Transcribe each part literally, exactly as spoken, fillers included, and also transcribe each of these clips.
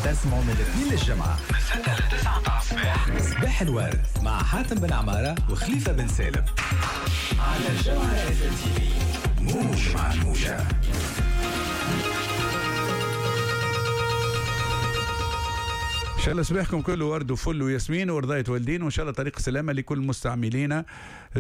تسمعوا من الاثنين للجمعة من ستة ل تسعة متاع الصباح. صباح الورد مع حاتم بن عمارة وخليفة بن سالم على الجوهرة اف ام تي في، موج مع الموجة. ان شاء الله صباحكم كله ورد وفل وياسمين ورضاية والدين، وان شاء الله طريق السلامة لكل مستعملين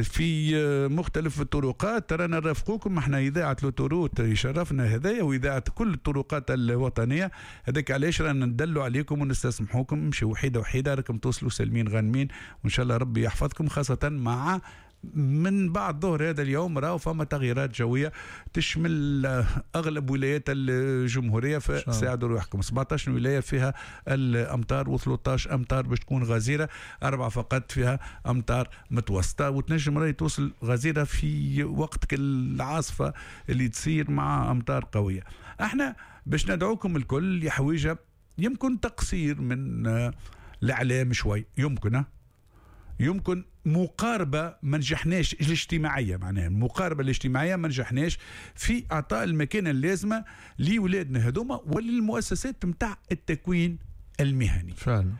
في مختلف الطرقات. ترانا نرافقوكم احنا اذاعة l'autoroute يشرفنا هذايا، واذاعة كل الطرقات الوطنية. هذاك علاش رانا ندلوا عليكم ونستسمحوكم، امشوا وحيده وحيده راكم توصلوا سالمين غانمين، وان شاء الله ربي يحفظكم، خاصة مع من بعد ظهر هذا اليوم راهو فما تغييرات جوية تشمل اغلب ولايات الجمهورية، فساعدوا روحكم. سبعطاش ولاية فيها الامطار وثلاثطاش امطار باش تكون غزيرة، اربعة فقط فيها امطار متوسطه، وتنجم راهي توصل غزيرة في وقت العاصفة اللي تصير مع امطار قوية. احنا باش ندعوكم الكل لحويجه يمكن تقصير من الاعلام شوي، يمكن يمكن مقاربة ما نجحناش الاجتماعية، معناها المقاربة الاجتماعية ما نجحناش في إعطاء المكانة اللازمة لولادنا هذوما وللمؤسسات متاع التكوين المهني. فعلا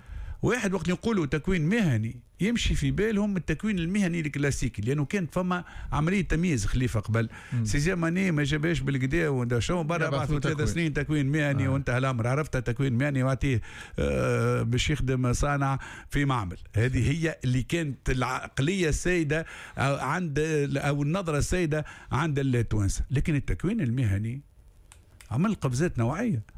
واحد وقت نقولوا تكوين مهني يمشي في بالهم التكوين المهني الكلاسيكي، لانه كانت فما عملية تمييز خليفة قبل. sixième année ما جابهاش بالكدا ودا شو برا بعثوا ثلاث سنين تكوين مهني آه. وانتهى الامر. عرفت تكوين مهني واعطيه آه باش يخدم صانع في معمل. هذه هي اللي كانت العقلية السائدة عند او النظرة السائدة عند التوانسة. لكن التكوين المهني عمل قفزات نوعية،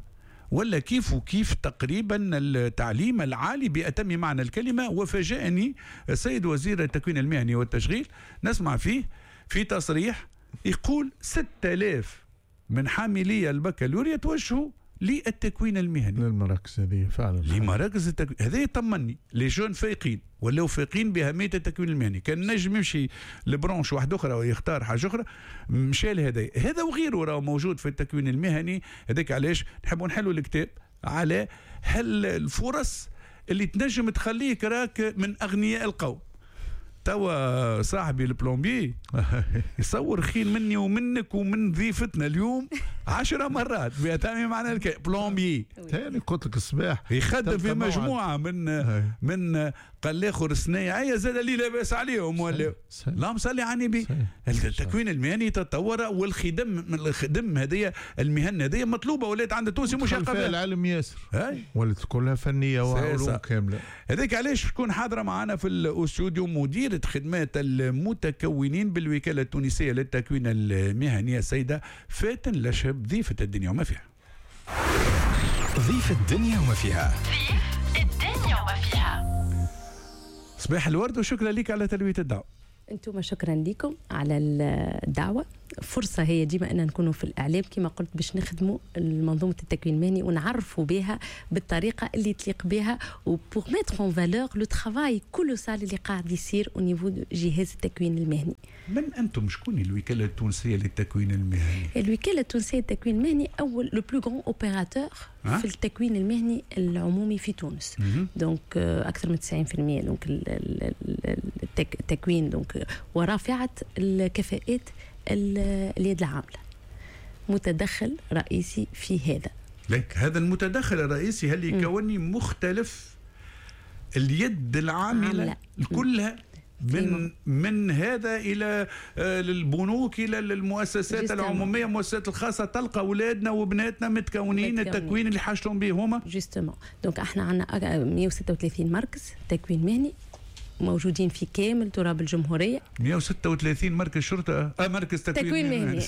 ولا كيف وكيف تقريبا التعليم العالي بأتم معنى الكلمة. وفاجأني السيد وزير التكوين المهني والتشغيل نسمع فيه في تصريح يقول ستة آلاف من حاملي البكالوريا توجهوا للتكوين المهني للمراكز هذه. فعلا لمراكز التكوين هذا يطمني. les jeunes فايقين ولاو فايقين بأهمية التكوين المهني. كان نجم يمشي ل branche واحدة أخرى ويختار حاجة أخرى، مشى لهذا هذا وغيره راه موجود في التكوين المهني. هذاك علاش نحبوا نحلوا الكتاب على هل الفرص اللي تنجم تخليك راك من أغنياء القوم. توا صاحبي ال plombier يصور خير مني ومنك ومن ضيفتنا اليوم عشرة مرات بأتم معنى الكلمة. plombier ثاني قلت لك الصباح يخدم في مجموعة من من قال الاخر صنايعية زاد اللي لاباس عليهم ولا اللهم صلي على النبي. التكوين المهني تطور، والخدم الخدم هذه المهن هذه مطلوبة ولات عند التونسي مش اقل. العلم ياسر ولات كلها فنية وعلوم كاملة. هذاك علاش تكون حاضرة معنا في الاستوديو مديرة خدمات المتكونين بالوكالة التونسية للتكوين المهني السيدة فاتن لشهب، ضيفة الدنيا وما فيها. ضيف الدنيا وما فيها. ضيف الدنيا وما فيها. صباح الورد وشكرا لك على تلبية الدعوة. انتم شكرا لكم على الدعوة. فرصة هي ديما أن نكونوا في الإعلام كما قلت باش نخدموا منظومة التكوين المهني ونعرفوا بها بالطريقة اللي تليق بها، و pour mettre en valeur le travail colossal اللي قاعد يصير au niveau جهاز التكوين المهني. من أنتم؟ شكون الوكالة التونسية للتكوين المهني؟ الوكالة التونسية للتكوين المهني أول le plus grand opérateur في التكوين المهني العمومي في تونس. donc أكثر من تسعين بالمئة donc التكوين donc ورافعة الكفاءات اليد العاملة متدخل رئيسي في هذا. لك هذا المتدخل الرئيسي هل يكوني مختلف اليد العاملة كلها من من هذا الى البنوك الى المؤسسات العمومية المؤسسات الخاصة، تلقى اولادنا وبناتنا متكونين التكوين اللي حاجتهم به هما. justement donc احنا عندنا مئة وستة وثلاثين مركز تكوين مهني موجودين في كامل تراب الجمهورية. مئة وستة وثلاثين مركز شرطة آه مركز تكوين, تكوين مهني.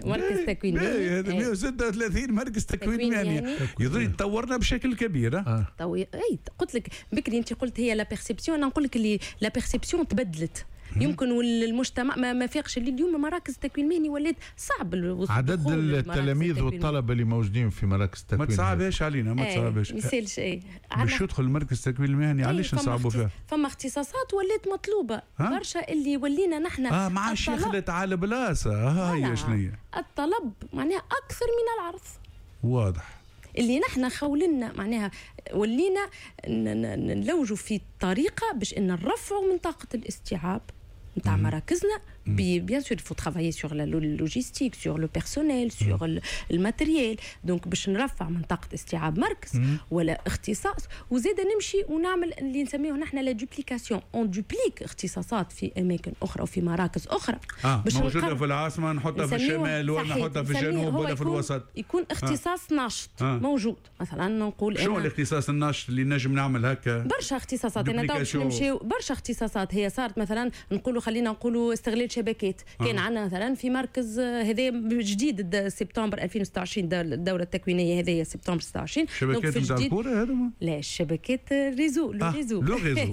مركز تكوين مهني هذا مئة وستة وثلاثين مركز تكوين مهني يظل تطورنا بشكل كبير. آه. طو... اي قلت لك بكري انت قلت هي la perception، انا نقول لك اللي la perception تبدلت. يمكن والمجتمع ما, ما فيقش اللي اليوم مراكز التكوين المهني ولات صعب عدد التلاميذ والطلبة اللي موجودين في مراكز التكوين. ما تصعبهاش علينا، ما تصعبهاش. ما يسالش اي باش يدخل مركز التكوين المهني علاش نصعبوا فيها؟ فما اختصاصات ولات مطلوبه برشا اللي ولينا نحن اه ما عادش يخلط على بلاصة. ها هي شنو الطلب معناها اكثر من العرض. واضح اللي نحن خولنا معناها ولينا نلوجوا في طريقه باش ان نرفعوا من طاقة الاستيعاب نتاع مراكزنا bien sûr il faut travailler sur la logistique، sur le personnel، sur ال matériel. donc باش نرفع من طاقة استيعاب مركز ولا اختصاص، وزيد نمشي ونعمل اللي نسميه نحن la duplication، on duplique اختصاصات في اماكن اخرى وفي مراكز اخرى. آه. باش موجودة في العاصمة نحطها في الشمال ولا نحطها في الجنوب ولا في الوسط. يكون اختصاص آه. ناشط آه. موجود. مثلا نقول شنو الاختصاص الناشط اللي نجم نعمل هكا؟ برشا اختصاصات، انا تو باش نمشيو برشا اختصاصات هي صارت. مثلا نقولوا، خلينا نقولوا استغلال شبكات. آه. كان عندنا مثلا في مركز هذا جديد سبتمبر ألفين وستة وعشرين، الدورة التكوينيه هذه سبتمبر ستة وعشرين. شبكات نتاع الكورة هذوما؟ لا، الشبكات réseau، le réseau. le réseau،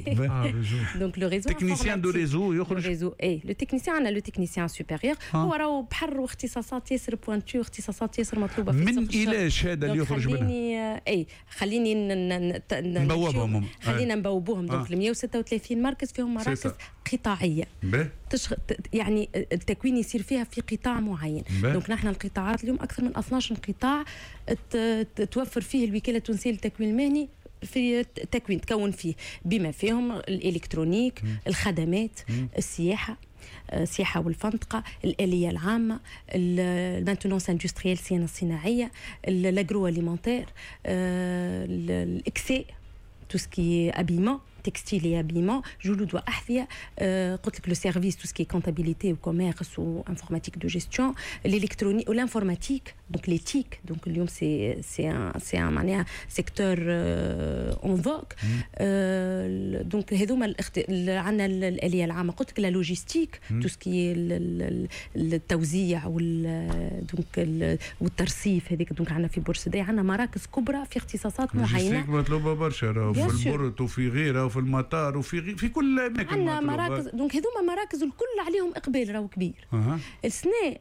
donc le réseau technicien de réseau يخرج réseau، اي le technicien، عندنا le technicien supérieur. هو راهو بحر واختصاصات ياسر pointues، اختصاصات ياسر مطلوبه في من الى الشهادة اللي يخرج منها. خليني اي خليني نبوبهم. خلينا نبوبوهم. donc مية وستة وثلاثين مركز فيهم مراكز قطاعيه تشغ... يعني التكوين يصير فيها في قطاع معين. donc نحن القطاعات اليوم اكثر من اثناش قطاع توفر فيه الوكالة التونسية للتكوين المهني في التكوين، تكون فيه بما فيهم ال électronique، الخدمات، مم. السياحة، السياحة والفندقه، الالية العامه، ال maintenance industrielle، الصيانة الصناعيه، l'agroalimentaire، الاكساء، tout ce qui est habillement، textile et habillement، جلود واحذيه، قلت لك le service، tout ce qui est comptabilité و commerce و informatique de gestion، l'électronique و l'informatique، donc les TIC. donc اليوم c'est c'est un c'est un معناها secteur en vogue. donc هذوما عندنا الالية العامه، قلت لك la logistique، tout ce qui est التوزيع وال donc والترصيف هذيك. donc عندنا في بورسعيد عندنا مراكز كبرى في اختصاصات معينة. مطلوبه برشا في ال port وفي غيرها وفي المطار وفي غي... في كل الاماكن. عندنا مراكز، donc هذوما مراكز الكل عليهم اقبال راهو كبير. أه. السنة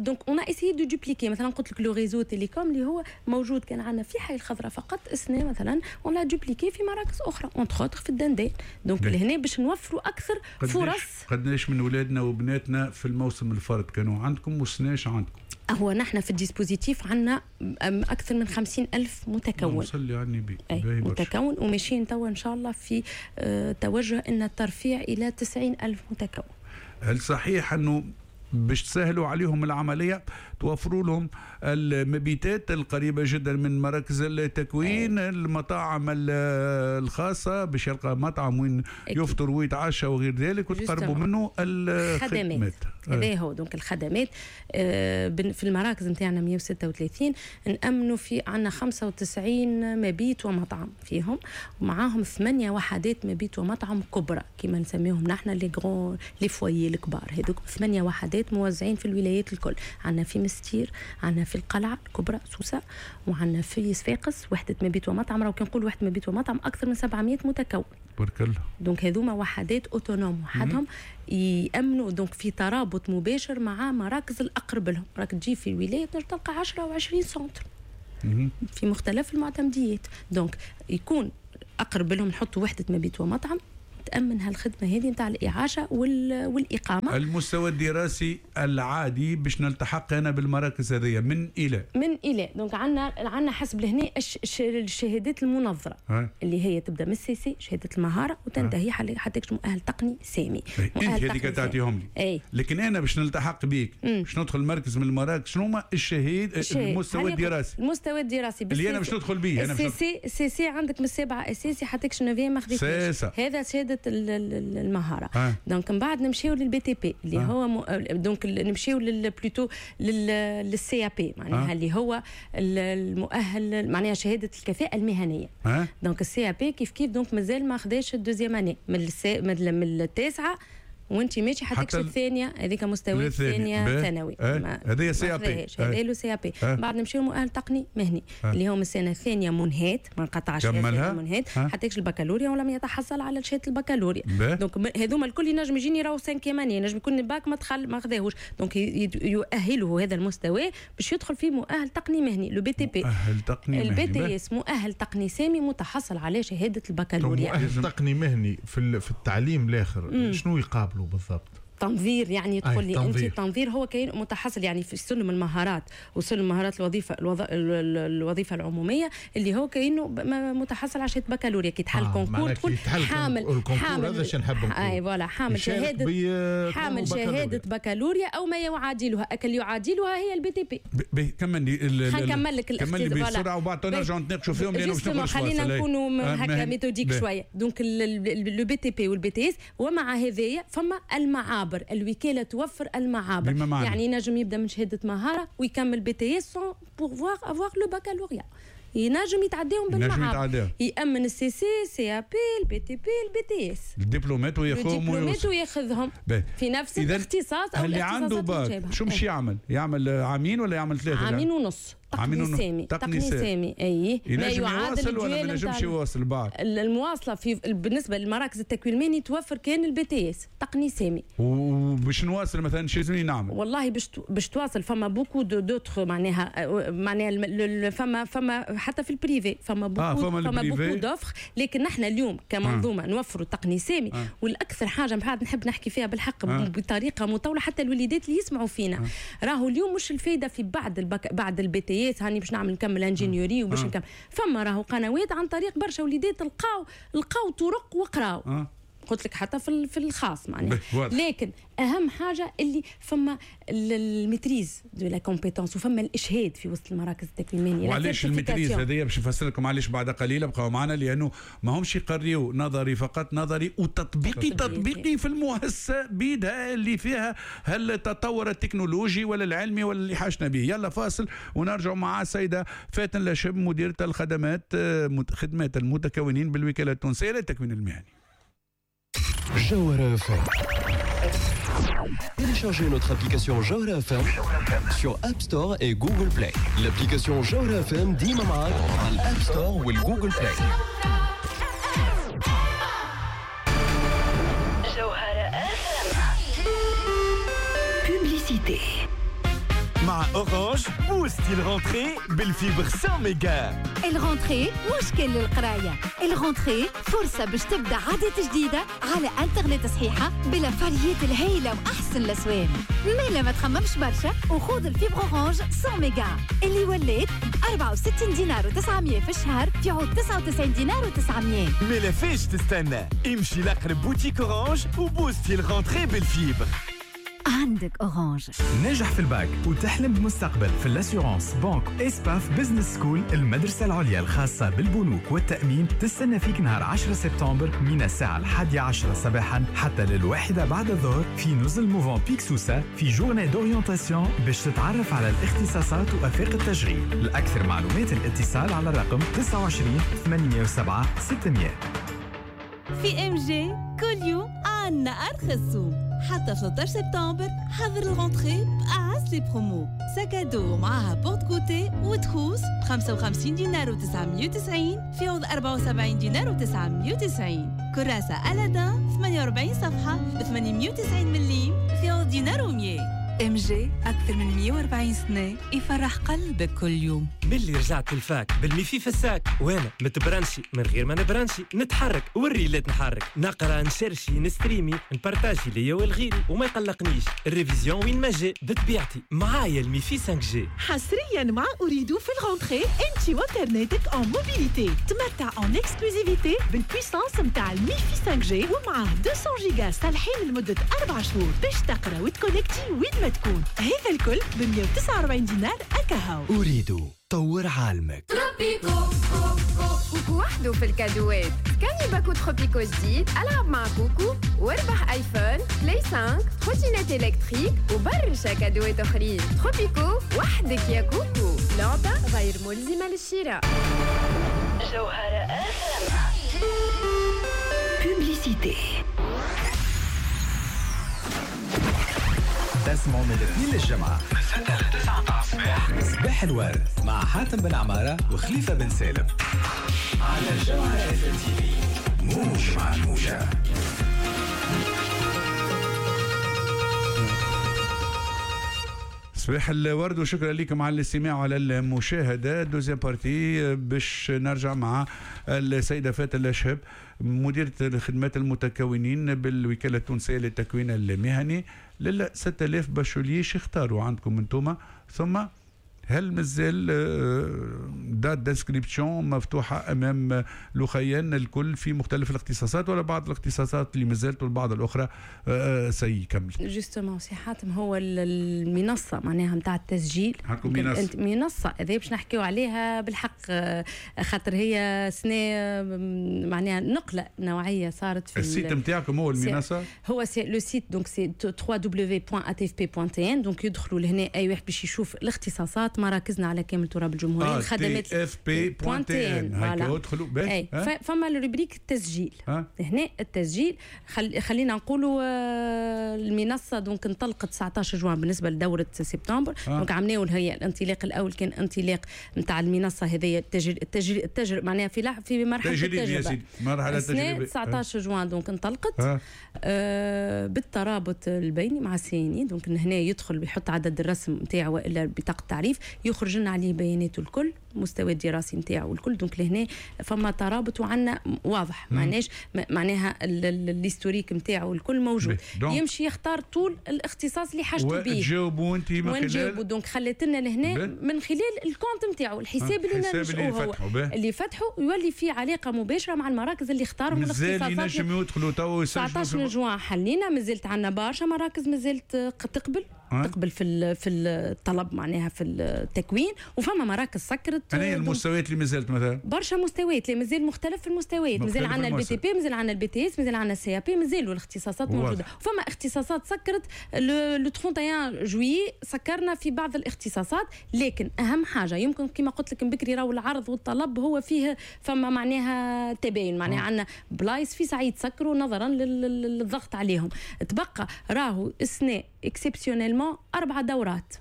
donc on a essayé de dupliquer. مثلا قلت لك le réseau télécom اللي هو موجود كان عندنا في حي الخضراء فقط، السنة مثلا on l'a dupliqué في مراكز اخرى، entre autres في الدندان. donc لهنا باش نوفروا اكثر فرص. قداش من اولادنا وبناتنا في الموسم الفارط كانوا عندكم والسنة عندكم؟ هو نحن في ال dispositif عندنا أكثر من خمسين ألف متكون. صلي على النبي. متكون، وماشيين توا إن شاء الله في آه توجه أن الترفيع إلى تسعين ألف متكون. هل صحيح أنه باش تسهلوا عليهم العملية توفروا لهم المبيتات القريبة جدا من مراكز التكوين، أي. المطاعم الخاصة باش يلقى مطعم وين يفطر ويتعشى وغير ذلك، وتقربوا منه الخدمات؟ هذا هو. donc الخدمات في المراكز نتاعنا مية وستة وثلاثين نأمنوا في عندنا خمسة وتسعين مبيت ومطعم فيهم، ومعاهم ثمانية وحدات مبيت ومطعم كبرى كما نسميهم نحن les grands les foyers الكبار. هذوك ثمانية وحدات موزعين في الولايات الكل. عندنا في مستير، عندنا في القلعة الكبرى سوسة، وعندنا في صفاقس وحدة مبيت ومطعم. راهو كي نقول وحدة مبيت ومطعم أكثر من سبعمية متكون. بارك الله. donc هذوما وحدات autonomes وحدهم يامنوا، donc في ترابط مباشر مع مراكز الاقرب لهم. راك تجي في الولاية تنجم تلقى عشرة او عشرين centres في مختلف المعتمديات. donc يكون اقرب لهم نحطوا وحده مبيت ومطعم تأمن هالخدمة هذه نتاع الإعاشة والإقامة. المستوى الدراسي العادي باش نلتحق أنا بالمراكز هذه من إلى؟ من إلى. donc عندنا عندنا حسب لهنا الشهادات المنظرة ها. اللي هي تبدا من ال CC شهادة المهارة وتنتهي حتى مؤهل تقني سامي. أنت هذيك تعطيهم لي. أي. لكن أنا باش نلتحق بيك باش ندخل مركز من المراكز، شنو هما الشهيد المستوى الدراسي؟ المستوى الدراسي اللي أنا باش ندخل بيه. أنا CC CC عندك من السابعة أساسي حتى neuvième ما خذيتش. هذا شهادة المهارة. آه. donc من بعد نمشيو لل BTP اللي آه. هو م... donc نمشيو plutôt لل CAP معناها آه. اللي هو المؤهل معناها شهادة الكفاءة المهنية. آه. donc ال CAP كيف كيف، donc مازال ما خداش ال deuxième année من السا... من التاسعة وانت ماشي حتى الثانية، هذيك مستوى الثانية ثانوي. هذه CAP، هذا le CAP. بعد نمشيو مؤهل تقني مهني أه. اللي هو من السنة الثانية منهات ما انقطعش منهات حتى البكالوريا ولم يتحصل على شهادة البكالوريا. donc هذوما الكل ينجم يجيني راهو cinquième année، ينجم يكون الباك ما دخل ما خذاهوش، donc يؤهله هذا المستوى باش يدخل في مؤهل تقني مهني le BTP. مؤهل تقني مهني ال BTS مؤهل تقني سامي متحصل على شهادة البكالوريا. مؤهل تقني مهني في في التعليم الاخر شنو يقابلوا بالضبط؟ تنظير، يعني تقول لي انت التنظير هو كاين متحصل يعني في سلم المهارات وسلم مهارات الوظيفة الوظ... الوظيفة العمومية اللي هو كانه متحصل على شهادة بكالوريا. كي تحل آه concours تقول حامل حامل هذا نحب نقول اي voilà حامل شهادة حامل شهادة بكالوريا او ما يعادلها، اكل يعادلها هي ال BTP. كمل نكمل لك كمل بسرعة وبعد نرجعوا نتناقشوا فيهم لانه باش نخرج. خلينا نكونوا هكا méthodiques شوية. donc le BTP وال BTS، ومع هذايا فما المعابر، الوكالة توفر المعابر، يعني ينجم يبدا من شهادة مهارة ويكمل BTS sans pouvoir avoir le baccalauréat، ينجم يتعداهم بالمعابر، يامن ال CC CAP ال BTP ال BTS الدبلومات وياخذهم الدبلومات وياخذهم في نفس الاختصاص او اللي عنده باك. شو مش يعمل؟ يعمل عامين ولا يعمل ثلاثة؟ عامين ونص. تقني سامي تقني سامي اي ما يعادل ولا ما ينجمش يواصل بعد المواصلة في بالنسبة للمراكز التكوين المهني توفر كان ال BTS تقني سامي. وباش نواصل مثلا شو لازمني نعمل؟ والله باش باش تواصل فما beaucoup d'autres معناها معناها فما فما حتى في ال privé فما beaucoup آه فما, فما beaucoup d'offres، لكن نحن اليوم كمنظومة آه. نوفروا تقني سامي آه. والاكثر حاجة بعد نحب نحكي فيها بالحق آه. بطريقة مطولة حتى الوليدات اللي يسمعوا فينا آه. راهو اليوم مش الفايدة في بعد البك... بعد ال BTS هاني باش نعمل نكمل ingénierie وباش آه. نكمل، فما راهو قنوات عن طريق برشا وليدات لقاو لقاو طرق وقراو آه. قلت لك حتى في في الخاص معناها. لكن اهم حاجة اللي فما ال maîtrise de la compétence وفما الاشهاد في وسط المراكز التكوين المهني. وعلاش ال maîtrise هذه باش نفسر لكم علاش بعد قليل، بقاو معنا لانه ما همش يقريوا نظري فقط، نظري وتطبيقي تطبيقي في المؤسسة بيدها اللي فيها هل التطور التكنولوجي ولا العلمي ولا اللي حاجنا به. يلا فاصل ونرجع مع السيدة فاتن لشب مديره الخدمات خدمات المتكونين بالوكالة التونسية للتكوين المهني. Jawhara إف إم. Téléchargez notre application Jawhara إف إم sur App Store et Google Play. L'application Jawhara إف إم ديما معاك على ال App Store وال Google Play. Jawhara إف إم. Publicité. مع Orange بوستي ال rentrée بال fibre مية ميجا. ال rentrée مشكل للقرايه، ال rentrée فرصة باش تبدا عادات جديدة على انترنت صحيحه بالافاريات الهائلة واحسن الاسوام. مالا ما تخممش برشا وخذ ال fibre Orange مية ميجا اللي ولات ب أربعة وستين دينار وتسعمية في الشهر في عود تسعة وتسعين دينار وتسعمية. مالا فاش تستنى، امشي لاقرب boutique Orange وبوستي ال rentrée بال fibre. عندك Orange. ناجح في الباك وتحلم بمستقبل في l'assurance banque ESPAF Business School المدرسة العليا الخاصة بالبنوك والتأمين تستنى فيك نهار عشرة سبتمبر من الساعة الحادية عشرة صباحا حتى للواحدة بعد الظهر في نزل موفنبيك سوسة في journée d'orientation باش تتعرف على الاختصاصات وآفاق التشغيل. لأكثر معلومات الاتصال على الرقم تسعة وعشرين ثمانمية وسبعة ستمية. في MG كل يوم عنا أرخص سوم حتى ثلاثة عشر سبتمبر. حضر ال rentrée بأعز les promos، sac à dos معاها porte-goûter و trousse ب خمسة وخمسين دينار وتسعمية وتسعين في عوض أربعة وسبعين دينار وتسعمية وتسعين. كراسة ألادان ثمانية وأربعين صفحة ب ثمانمية وتسعين مليم في عوض دينار ومية. MG أكثر من مية وأربعين سنة يفرح قلبك كل يوم. ملي رجعت ال fac بال MiFi في ال sac وانا متبرانشي من غير ما نبرانشي، نتحرك والريلات نحرك، نقرا نشرشي نستريمي نبارتاجي ليا والغيري وما يقلقنيش ال révision وين ما جا بطبيعتي معايا ال MiFi خمسة G. حصريا مع Ooredoo في ال rentrée انت وانترنتك en mobilité تمتع en exclusivité بال puissance نتاع ال MiFi خمسة G ومعاه مئتين جيجا صالحين لمدة أربع شهور باش تقرا وتكونكتي وين ما تكون. هذا الكل ب مية وتسعة وأربعين دينار أكاهو. Ooredoo طور عالمك. Tropico كوكو وحده في الكادوات. كاني باكو Tropico جديد، العب مع كوكو واربح iPhone، Play خمسة، trottinette électrique وبرشا كادوات اخرين. Tropico وحدك يا كوكو. لعبة غير ملزمة للشراء. جوهرة Publicité. تسمعوا من الاثنين للجمعة من ستة لتسعة متاع الصباح صباح الورد مع حاتم بن عمارة وخليفة بن سالم على جوهرة إف إم تي في. موج مع الموجة. صباح الورد وشكرا لكم على الاستماع وعلى المشاهدة. deuxième partie باش نرجع مع السيدة فاتن الشهب، مديره الخدمات المتكونين بالوكالة التونسية للتكوين المهني. لل ستة آلاف bacheliers اختاروا عندكم انتم، ثم هل مازال dates d'inscription مفتوحة امام لخيان الكل في مختلف الاختصاصات، ولا بعض الاختصاصات اللي مازالت والبعض الاخرى سيكمل؟ justement سي حاتم، هو المنصة معناها نتاع التسجيل. عندكم منصة؟ منصة هذه باش نحكيو عليها بالحق، خاطر هي سنة معناها نقله نوعية صارت في ال site نتاعكم. هو المنصة هو c'est le site، donc c'est ثلاثة W point A T F P point T N. donc يدخلوا لهنا اي واحد باش يشوف الاختصاصات، مراكزنا على كامل تراب الجمهوريه، الخدمات. F P point T N، هيك ادخلوا. اي، فما ال rubrique التسجيل. هنا التسجيل، خل... خلينا نقولوا آه، المنصة donc انطلقت تسعطاش جوان بالنسبة لدوره سبتمبر. donc عملناو هي الانطلاق الاول كان انطلاق نتاع المنصة هذه التجر التجر التجر معناها في في مرحلة التجربه. مرحلة التجربة تسعطاش جوان donc انطلقت آه. آه بالترابط البيني مع ال CNI. donc هنا يدخل بيحط عدد الرسم نتاعو والا بطاقة التعريف، يخرج لنا عليه بياناته الكل، المستوى الدراسي نتاعو الكل. donc لهنا فما ترابط وعندنا واضح، معناش معناها l'historique نتاعو الكل موجود. يمشي يختار طول الاختصاص اللي حاجته به. وتجاوبوا انت من خلال، donc خلت لنا لهنا من خلال ال compte نتاعو، الحساب اللي اللي فتحوا اللي فتحوا، يولي في علاقة مباشرة مع المراكز اللي اختارهم. مازال ينجم يدخلوا تو يسجلوا؟ تسعطاش جوان حلينا، مازلت عندنا برشا مراكز مازالت تقبل أه؟ تقبل في في الطلب معناها في التكوين، وفما مراكز سكرت. أنا المستويات اللي مازالت مثلا؟ برشا مستويات اللي مازال، مختلف في المستويات، مازال عندنا ال BTP، مازال عندنا ال BTS، مازال عندنا ال CAP، مازالوا الاختصاصات موجوده. وفما اختصاصات سكرت le trente et un juillet، سكرنا في بعض الاختصاصات. لكن اهم حاجة يمكن كما قلت لك بكري، راهو العرض والطلب هو فيه فما معناها تباين، معناها عندنا بلايص في ساعة يتسكروا نظرا للضغط عليهم. تبقى راهو السنة exceptionnellement اربع دورات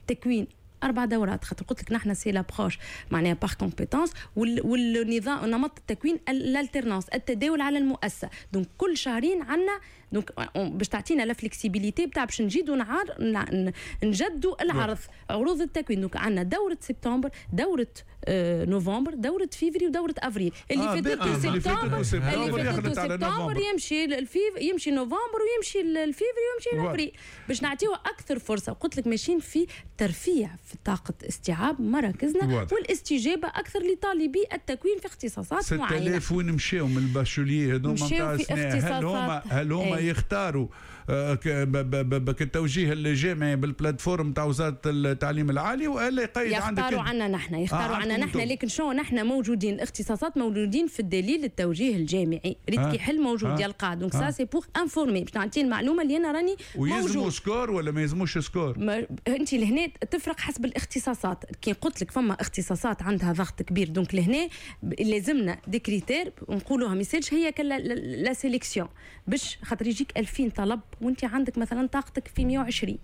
تكوين، اربع دورات، خاطر قلت لك نحن c'est l'approche معناها par compétences، والنظام نمط التكوين l'alternance، التداول على المؤسسه. donc كل شهرين عندنا، donc باش تعطينا la flexibilité بتاع باش نجيدوا نعار نجدوا العرض، عروض التكوين. donc عندنا دوره سبتمبر، دوره آه نوفمبر، دوره فيفري، ودوره افريل. اللي آه فاتته سبتمبر، اللي فاتته سبتمبر يمشي الفيف يمشي نوفمبر ويمشي الفيفري ويمشي الافريل، باش نعطيوه اكثر فرصه. قلت لك ماشيين في ترفيع في طاقة استيعاب مراكزنا والاستجابة اكثر لطالبي التكوين في اختصاصات معينه. ستة آلاف وين مشاو من ال bacheliers هذوما نتاع؟ هل هما هل هما ايه؟ يختاروا آه، التوجيه الجامعي بال plateforme تاع وزارة التعليم العالي والا يقيد عندك؟ يختاروا عنا نحن، يختاروا آه عنا نحن. لكن شو، نحن موجودين، الاختصاصات موجودين في الدليل التوجيه الجامعي، ريت آه. كي حل موجود آه. يلقى. donc ça c'est pour informer، باش نعطي المعلومة اللي انا راني ويلزموا score ولا ما يلزموش score؟ ما انت لهنا تفرق حسب الاختصاصات. كي قلت لك فما اختصاصات عندها ضغط كبير، donc لهنا لازمنا des critères نقولوها، ما يصيرش هي la sélection، باش خاطر يجيك ألفين طلب وانت عندك مثلا طاقتك في مية وعشرين،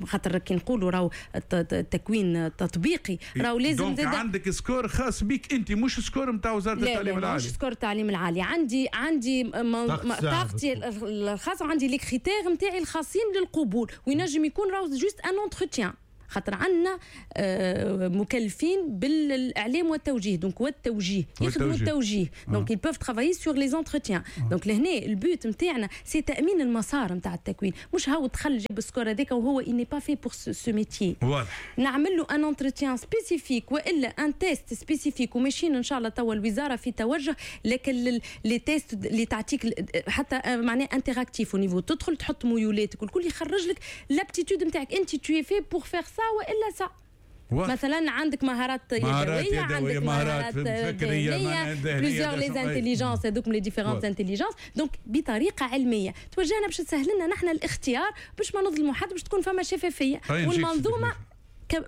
خاطر كي نقولوا راهو التكوين التطبيقي راهو لازم donc عندك score خاص بك انت، مش score نتاع وزارة التعليم العالي؟ مش score التعليم العالي. عندي عندي طاقتي الخاصه، وعندي les critères نتاعي الخاصين للقبول، وينجم يكون راهو juste un entretien، خاطر عندنا آه، مكلفين بالاعلام والتوجيه، donc والتوجيه يخدموا التوجيه، donc ils peuvent travailler sur les entretiens. donc لهنا ال but نتاعنا c'est تامين المسار نتاع التكوين، مش هو دخل جاب ال score هذاك وهو il n'est pas fait pour ce métier. واضح. نعمل له un entretien spécifique والا un test spécifique. وماشيين ان شاء الله توا الوزارة في توجه، لكن les tests اللي تعطيك حتى معناها interactif au niveau، تدخل تحط ميولاتك والكل، يخرج لك l'aptitude نتاعك، انت tu es fait pour faire ça والا ça. مثلا عندك مهارات يدويه، عندك مهارات فكريه، plusieurs les intelligences هذوك، les différentes intelligences. donc بطريقة علمية توجهنا باش تسهل لنا نحن الاختيار، باش ما نظلموا حد، باش تكون فما شفافيه، والمنظومه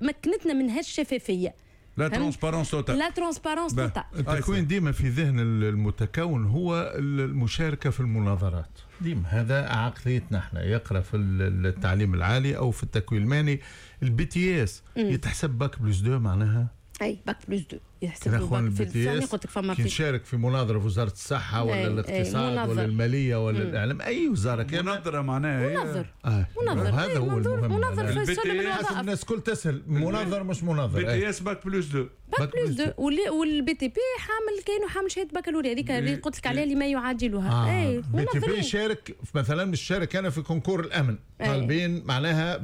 مكنتنا من هالشفافيه. la transparence totale. la transparence totale. التكوين ديما في ذهن المتكون هو المشاركة في المناظرات، ديما هذا عقليتنا احنا. يقرا في التعليم العالي او في التكوين المهني، ال BTS يتحسب bac plus deux معناها؟ اي، bac plus deux. يحسب له في قلت لك فما كي نشارك في مناظرة في وزارة الصحة ولا ايه الاقتصاد ولا المالية ولا الاعلام، اي وزارة كان مناظرة معناها مناظر آه. مناظر هذا هو المهم، مناظر في سلم الوظائف. الناس الكل تسهل مناظر مش مناظر. BTS bac plus deux، bac plus deux، وال BTP حامل كاينو حامل شهادة بكالوريا هذيك اللي قلت لك عليها اللي ما يعادلها. اي BTP يشارك مثلا، مش شارك انا في concours الامن طالبين معناها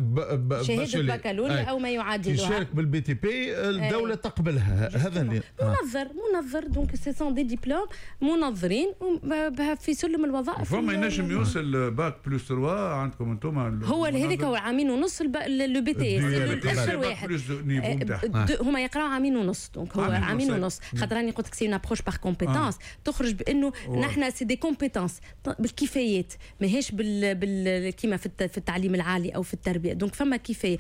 شهادة بكالوريا او ما يعادلها، يشارك بال BTP الدولة تقبلها. هذا اللي منظر منظر donc ce sont des diplômes منظرين في سلم الوظائف. فما ينجم يوصل bac plus ثلاثة عندكم انتم؟ هو هذاك هو عامين ونص le BTS اخر واحد هما يقراو عامين ونص، donc هو عامين ونص خاطر راني قلت لك c'est une approche par compétences، تخرج بانه نحن c'est des compétences بالكفايات، ماهيش بال, بال كيما في التعليم العالي او في التربية. donc فما كفاية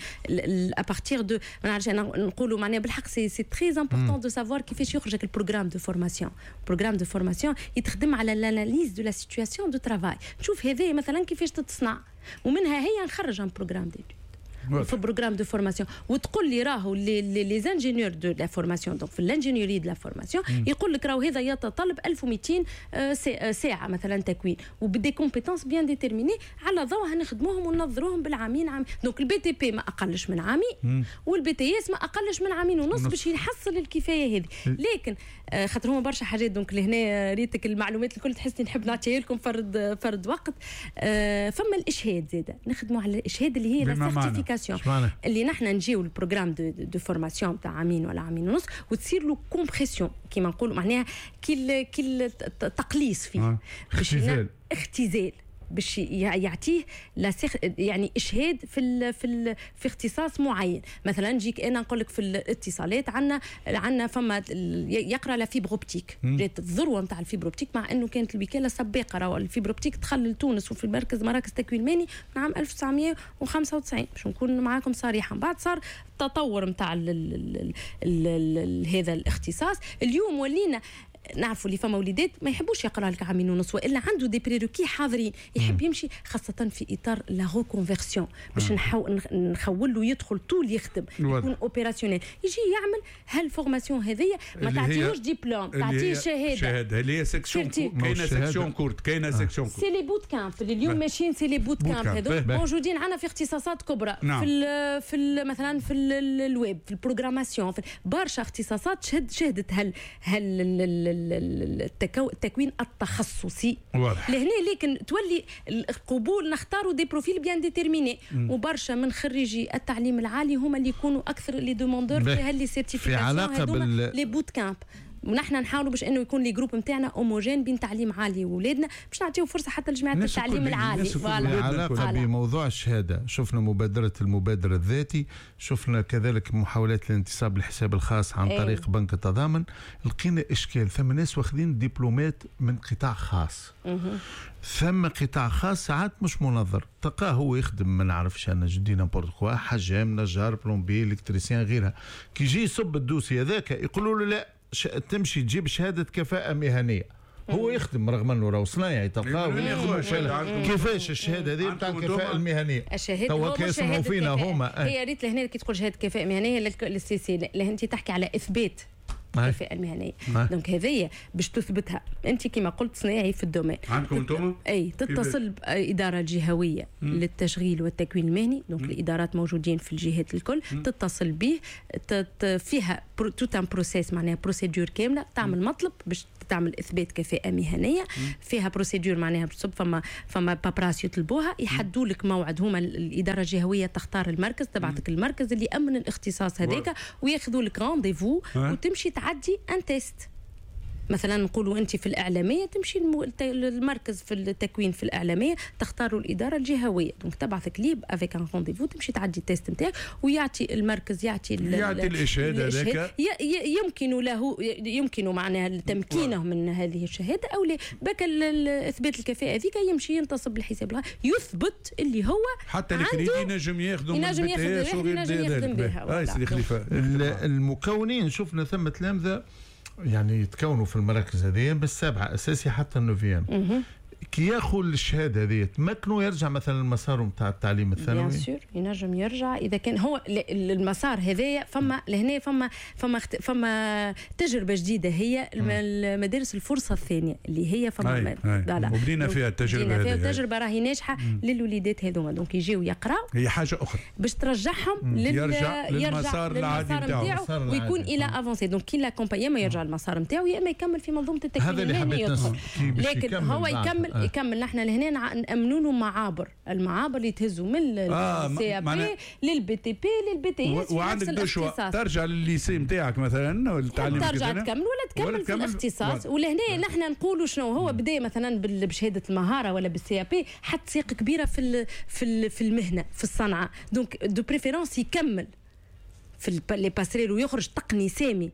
à partir de ما نعرفش انا نقولوا معناها بالحق c'est c'est très important de savoir كيفاش يخرجك ال programme de formation. programme de formation يتخدم على l'analyse de la situation de travail، نشوف هذا مثلا كيفاش تتصنع ومنها هي نخرج un programme d'études في programme de formation، وتقول لي راهو les les ingénieurs de la formation، donc في l'ingénierie de la formation يقول لك راهو هذا يتطلب ألف ومئتين ساعة مثلا تكوين وب des compétences bien déterminées، على ضوءها نخدموهم وننظروهم بالعامين عام. donc ال BTP ما اقلش من عامين وال BTS ما اقلش من عامين ونص باش يحصل الكفاية هذه. لكن خاطر هما برشا حاجات، donc لهنا ريتك المعلومات الكل تحسني نحب نعطيها لكم فرد فرد وقت. فما الاشهاد زاده، نخدموا على الاشهاد اللي هي la certification اللي نحن نجيو ال programme de, de formation تاع عامين ولا عامين ونص وتصير له compression كيما نقولوا، معناها كي كي تقليص فيه باش اختزال باش يعطيه يعني اشهاد في ال في ال في اختصاص معين. مثلا نجيك انا نقول لك في الاتصالات عندنا عندنا فما يقرا la fibre optique، جات الذروة نتاع ال fibre optique، مع انه كانت الوكالة سباقه، راهو ال fibre optique دخل لتونس وفي المركز مراكز تكوين مهني من عام ألف وتسعمية وخمسة وتسعين باش نكون معاكم صريحه. بعد صار التطور نتاع هذا الاختصاص. اليوم ولينا نعرفوا اللي فما وليدات ما يحبوش يقرا لك عامين ونص، والا عنده des prérequis حاضرين يحب يمشي، خاصة في اطار la reconversion باش نخول له يدخل طول يخدم يكون opérationnel، يجي يعمل هال formation هذيا ما تعطيهوش ديبلوم، تعطيه شهادة. شهادة اللي هي section، كاينه section courte، كاينه section courte، c'est les bootcamps اللي اليوم ماشيين، c'est les bootcamps هذو موجودين عندنا في اختصاصات كبرى. نعم. في ال في ال مثلا في الويب، في ال programmation، في برشا اختصاصات شهد شهدت هل هل التكوين التخصصي لهنا. لكن تولي القبول نختاروا des profils bien déterminés، وبرشا من خريجي التعليم العالي هما اللي يكونوا اكثر les demandeurs في هال les certifications هذوما les bootcamps. ونحن نحاولوا باش انه يكون les groupes نتاعنا homogènes بين تعليم عالي وولادنا باش نعطيو فرصة حتى لجماعة التعليم العالي. علاقة بموضوع الشهادة، شفنا مبادرة المبادرة الذاتي، شفنا كذلك محاولات الانتصاب للحساب الخاص عن طريق ايه. بنك التضامن، لقينا اشكال، ثم ناس واخذين دبلومات من قطاع خاص، ثم قطاع خاص ساعات مش منظر، تلقاه هو يخدم ما نعرفش انا je dis n'importe quoi، حجام، نجار، plombier، électricien، غيرها، كي يجي يصب ال dossier هذاك يقولوا له لا تمشي تجيب شهادة كفاءة مهنية. هو يخدم رغم انه راهو صنايعي تلقاه كيفاش الشهادة هذه نتاع الكفاءة المهنية؟ الشهادة توا كي يسمعوا فينا هما هي ريت لهنا كي تقول شهادة كفاءة مهنية لل CC، انت تحكي على اثبات الكفاءة المهنية. donc هذيا باش تثبتها انت كما قلت صناعي في ال domaine عندكم انتم؟ اي تتصل بادارة الجهوية للتشغيل والتكوين المهني، donc الادارات موجودين في الجهات الكل، مم. تتصل به فيها tout un processus معناها procédure كاملة، تعمل مطلب باش تعمل اثبات كفاءة مهنية، مم. فيها procédure معناها بتصب فما فما paperasse يطلبوها، يحدوا لك موعد، هما الادارة الجهوية تختار المركز، تبعتك المركز اللي يامن الاختصاص هذاك وياخذوا لك rendez-vous وتمشي تعدي un test. مثلا نقولوا انت في الاعلامية تمشي المركز في التكوين في الاعلامية تختاروا الادارة الجهوية، donc تبعثك ليه avec un rendez-vous تمشي تعدي ال test نتاعك ويعطي المركز يعطي يعطي الاشهاد هذاك، يمكن له يمكن معناها تمكينه من هذه الشهادة او لا، بك اثبات الكفاءة هذيك يمشي ينتصب الحساب يثبت اللي هو حتى الكريدي ينجم ياخذوا ينجم ياخذ ينجم يخدم بها. المكونين شفنا ثم تلامذه يعني يتكونوا في المراكز هذه بالسابعة أساسي حتى ال neuvième. كي ياخذ الشهادة هذه تمكنه يرجع مثلا لمساره نتاع التعليم الثانوي؟ bien sûr ينجم يرجع اذا كان هو المسار هذايا. فما لهنا فما فما فما تجربه جديدة هي المدارس الفرصة الثانية اللي هي فما وبدينا فيها التجربة هذه، التجربة راهي ناجحة للوليدات هذوما، donc يجيو يقراو هي حاجة اخرى باش ترجعهم لل... يرجع للمسار العادي نتاعو ويكون il a avancé، donc كي l'accompagner ما يرجع للمسار نتاعو يا اما يكمل في منظومة التكوين. هذا اللي حبيت لكن هو يكمل آه. يكمل. نحن لهنا نامنوا له معابر، المعابر اللي تهزوا من ال CAP لل BTP لل BTS. وعندك deux choix، ترجع للل lycée نتاعك مثلا والتعليم ترجع تكمل ولا تكمل, ولا تكمل في الاختصاص. ولهنا نحن نقولوا شنو هو بدا مثلا بشهادة المهارة ولا بال CAP، حط ساق كبيرة في في في المهنة في الصنعة، donc de préférence يكمل في les passerelles ويخرج تقني سامي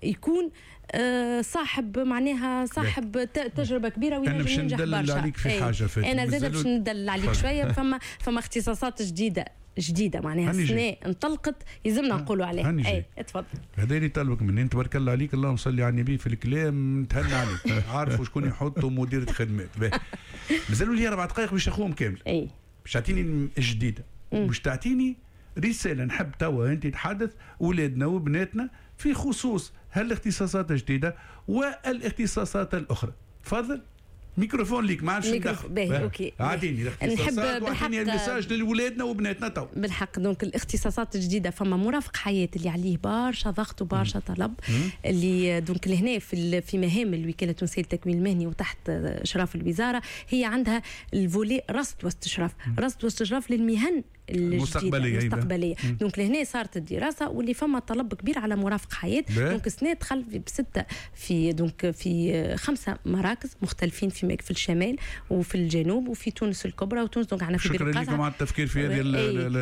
يكون آه صاحب معناها صاحب تجربه كبيرة وينجم ينجح برشا. انا باش ندلل عليك في حاجة فاتن. انا زاد باش ندلل عليك شوية. فما فما اختصاصات جديدة جديدة معناها السنة انطلقت يلزمنا نقولوا عليها. اي اتفضل. هذا اللي طلبك مني، انت تبارك الله عليك اللهم صل على النبي في الكلام نتهنى عليك، عارفوا شكون يحطوا مديره خدمات. مازالوا لي اربع دقائق باش ناخذهم كامل. اي باش تعطيني الجديدة، باش تعطيني رسالة نحب توا انت تحدث اولادنا وبناتنا في خصوص هالاختصاصات الجديدة والاختصاصات الاخرى. تفضل ميكروفون ليك ما عادش ندخل. باهي OK اعطيني الاختصاصات واعطيني ال message لولادنا وبناتنا تو. بالحق donc الاختصاصات الجديدة فما مرافق حياة اللي عليه برشا ضغط وبرشا طلب، اللي donc لهنا في في مهام الوكالة التونسية للتكوين المهني وتحت اشراف الوزارة هي عندها ال volet رصد واستشراف، رصد واستشراف للمهن المستقبلية المستقبلية. donc لهنا صارت الدراسة واللي فما طلب كبير على مرافق حياة. donc السنة دخل بسته في donc في خمسة مراكز مختلفين في في الشمال وفي الجنوب وفي تونس الكبرى وتونس. donc عندنا في شكرا لكم على التفكير في هذه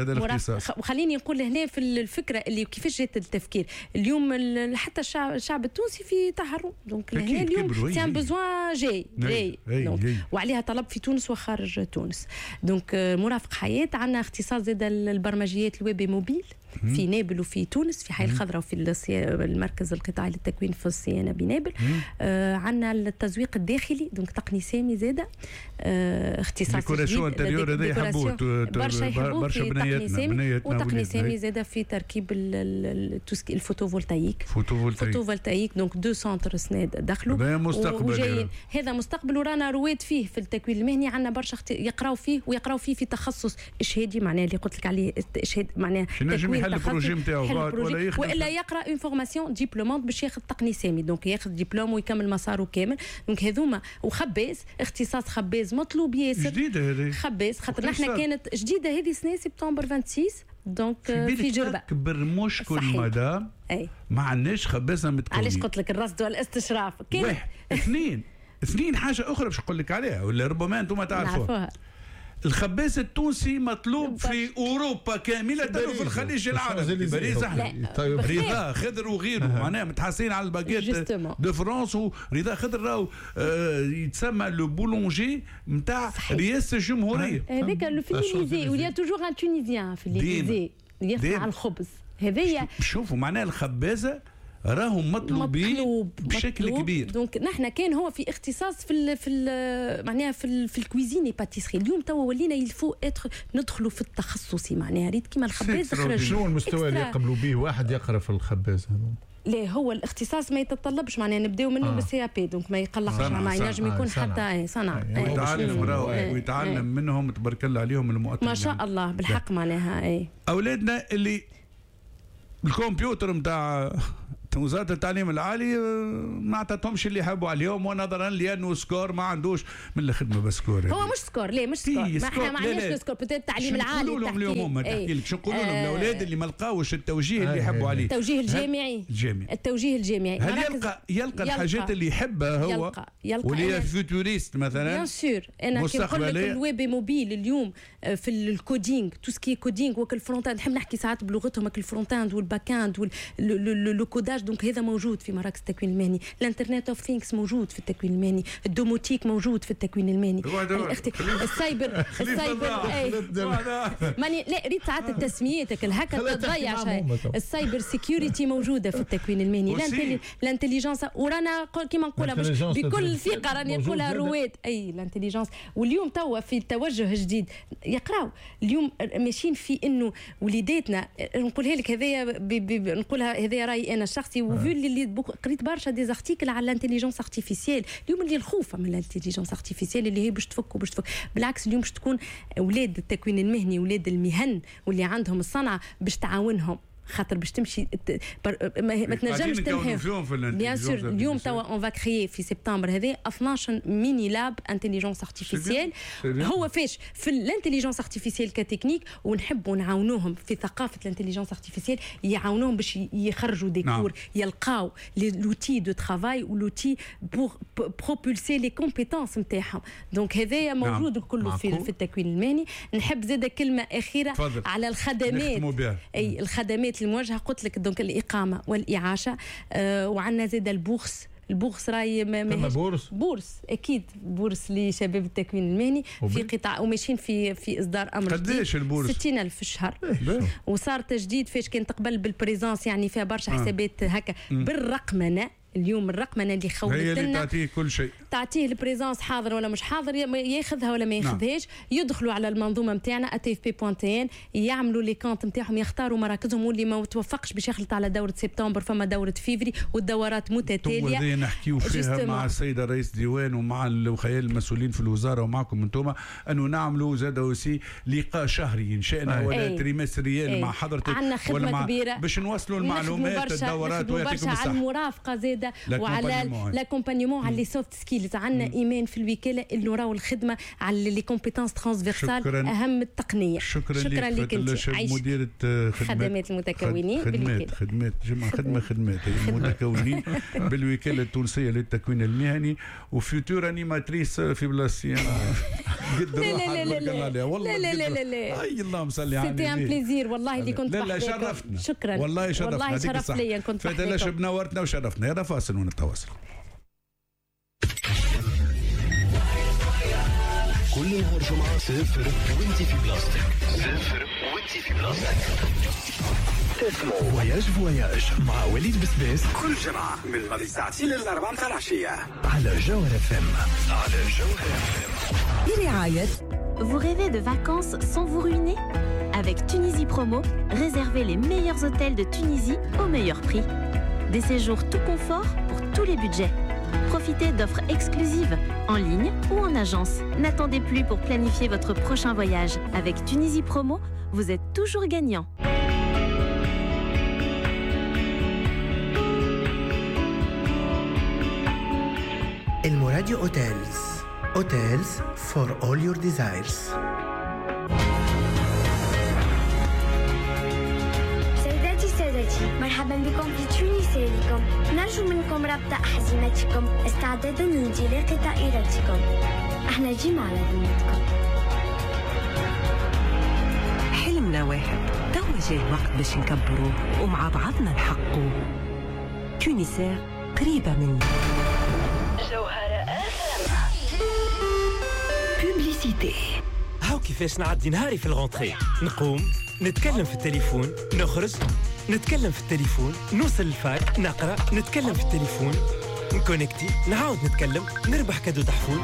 هذا الاختصاص. وخليني نقول لهنا في الفكرة اللي كيفاش جات التفكير اليوم، حتى الشعب, الشعب التونسي في تحرر، donc لهنا اليوم c'est un besoin جاي جاي وعليها طلب في تونس وخارج تونس. donc مرافق حياة عندنا اختصاص زاد البرمجيات ال web mobile في نابل وفي تونس في حي الخضراء وفي المركز القطاعي للتكوين في الصيانة بنابل. آه عندنا التزويق الداخلي donc تقني سامي زاده آه اختصاص décoration intérieure هذا يحبوه برشا يحبوه في تقني سامي، وتقني سامي زاده في تركيب ال photovoltaïque photovoltaïque photovoltaïque. donc deux centres سناد دخلوا هذا مستقبل، هذا مستقبل ورانا رواد فيه في التكوين المهني. عندنا برشا يقراو فيه ويقراو فيه في تخصص اشهادي معناها اللي قلت لك عليه اشهاد معناها تكوين ال projet نتاعو ولا يخدم والا يقرا une formation diplômante باش ياخذ تقني سامي، donc ياخذ دبلوم ويكمل مساره كامل. donc هذوما وخباز اختصاص خباز مطلوب ياسر. جديدة هذه خباز خاطر نحن كانت جديدة هذه سنة سبتمبر ستة وعشرين donc في جربه. اكبر مشكل مدام أي. ما عندناش خبازه متكونين. علاش قلت لك الرصد والاستشراف واحد اثنين اثنين حاجة اخرى باش نقول لك عليها ولا ربما انتم تعرفوها. الخباز التونسي مطلوب في اوروبا كاملة وفي الخليج العربي، باريس احنا رضا خضر وغيره معناها متحصلين على ال baguette de France. ورضا خضر راهو آه يتسمى le boulanger نتاع رئاسة الجمهورية هذاك في l'Élysée، و il y a toujours un Tunisien في l'Élysée يصنع الخبز هذايا. شوفوا معناها الخبازه راهم مطلوبين مطلوب بشكل مطلوب. كبير. donc نحن كان هو في اختصاص في ال في ال معناها في ال في ال cuisine pâtisserie. اليوم توا ولينا il faut être ندخلوا في التخصصي معناها ريت كيما الخباز خرج. شنو المستوى اللي يقبلوا به واحد يقرا في الخباز هذا؟ لا هو الاختصاص ما يتطلبش معناها نبداو منه آه. بال CAP donc ما يقلقش ما ينجم يكون حتى صنع ويتعلم راهو ويتعلم منهم تبارك الله عليهم المؤطرين ما شاء الله بالحق معناها. اي اولادنا اللي الكمبيوتر نتاع وزارة التعليم العالي ما اعطتهمش اللي يحبوا عليهم، ونظرا لانه score ما عندوش من الخدمة بس score هو مش score، ليه مش score؟ ما احنا ما عندناش score peut-être التعليم العالي. نقولوا لهم اليوم هما تحكي لك شو نقولوا لهم الاولاد اللي ما لقاوش التوجيه اللي يحبوا عليه، التوجيه الجامعي الجامعي التوجيه الجامعي هل يلقى يلقى الحاجات اللي يحبها هو يلقى يلقى واللي هي futuriste مثلا؟ bien sûr انا كي نقول لك ال web mobile اليوم في ال coding tout ce qui est coding وكل front-end، نحب نحكي ساعات بلغتهم ال front-end وال back-end le codage. donc هذا موجود في مراكز التكوين المهني. ال internet of things موجود في التكوين المهني، ال domotique موجود في التكوين المهني، السايبر السايبر اي ماني لا ريت ساعات التسميات هكا تضيع شيء. ال cyber security موجودة في التكوين المهني، l'intelligence، ورانا كيما نقولها مش بكل ثقة راني نقولها رواد اي l'intelligence. واليوم توا في التوجه الجديد يقراو اليوم ماشيين في انه وليداتنا، نقولها لك هذايا نقولها هذايا رايي انا الشخصي، و vu اللي قريت برشا des articles على l'intelligence artificielle اليوم، اللي الخوف من l'intelligence artificielle اللي هي باش تفك وباش تفك، بالعكس اليوم باش تكون اولاد التكوين المهني اولاد المهن واللي عندهم الصنعة باش تعاونهم، خاطر باش تمشي ما, ما تنجمش تنحي bien sûr. اليوم توا on va créer في سبتمبر هذا اثناش mini lab intelligence artificielle. هو فاش في l'intelligence artificielle ك technique، ونحبوا نعاونوهم في ثقافة l'intelligence artificielle، يعاونوهم باش يخرجوا des cours، يلقاو l'outil de travail و l'outil pour propulser les compétences نتاعهم. donc هذايا موجود كله في, في التكوين المهني. نحب زاده كلمة اخيرة فضل. على الخدمات، اي الخدمات الموجهة، قلت لك donc الاقامة والاعاشه، آه وعندنا زاد ال bourse. ال bourse راهي ما bourse bourse اكيد bourse لشباب التكوين المهني في قطاع، وماشيين في في اصدار امر. قداش ال bourse؟ ستين ألف في الشهر. وصار تجديد فاش كانت قبل بال présence، يعني فيها برشا حسابات هكا بالرقمنه. اليوم الرقمنه اللي خولت هي اللي تعطيه كل شيء، تعطيه ال présence حاضر ولا مش حاضر، ياخذها ولا ما ياخذهاش. نعم. يدخلوا على المنظومة نتاعنا اتي اف بي دوت ان، يعملوا les comptes نتاعهم، يختاروا مراكزهم، واللي ما توفقش باش يخلط على دوره سبتمبر فما دوره فيفري، والدورات متتالية. هذه نحكيو فيها مع السيدة رئيس ديوان ومع الخيال المسؤولين في الوزارة ومعكم انتم، انه نعملوا زاد aussi لقاء شهري ان شئنا ولا trimestriel مع حضرتك، عندنا خدمة ولا كبيرة باش نوصلوا المعلومات الدورات، ويعطيكم الصحة على المرافقة زاده وعلى l'accompagnement على les soft skills. عندنا ايمان في الوكالة انه راهو الخدمة على les compétences transversales اهم التقنية. شكرا, شكرا لك انت مديره خدمات المتكونين خدمات خدمات جمع خدمة خدمات المتكونين بالوكالة التونسية للتكوين المهني، و future animatrice في بلاصتي قد لا لا لا لا والله لا لا لا لا اي اللهم صل على النبي. c'était un plaisir والله اللي كنت لا لا شرفتنا. شكرا والله شرفتنا، والله شرف ليا كنت فاتن نورتنا وشرفتنا. يلا فاصل ونتواصل. كل نهار جمعة سافر وانت في بلاصتك، سافر وانت في بلاصتك. تسمعوا voyage voyage مع وليد بسباس كل جمعة من ماضي ساعتين للأربعة متاع العشية على جوهر اف ام. على جوهر اف ام برعاية Vous rêvez de vacances sans vous ruiner? Avec Tunisie Promo, réservez les meilleurs hôtels de Tunisie au meilleur prix. Des séjours tout confort pour tous les budgets. Profitez d'offres exclusives, en ligne ou en agence. N'attendez plus pour planifier votre prochain voyage. Avec Tunisie Promo, vous êtes toujours gagnant. El Moradio Hotels. Hotels for all your desires. سيداتي سادتي، مرحبا بكم في تونسيركم. نرجو منكم ربط أحزمتكم استعدادا لانطلاق طائرتكم. احنا جينا على ذمتكم. حلمنا واحد، توا جاي الوقت باش نكبروه ومع بعضنا نحققوه. Tunisair قريبة مني. جوهرة publicité. هاو كيفاش نعدي نهاري في ال rentrée؟ نقوم نتكلم في التليفون، نخرج نتكلم في التليفون، نوصل لل fac نقرا نتكلم في التليفون، نكونكتي نعاود نتكلم، نربح cadeau تحفون،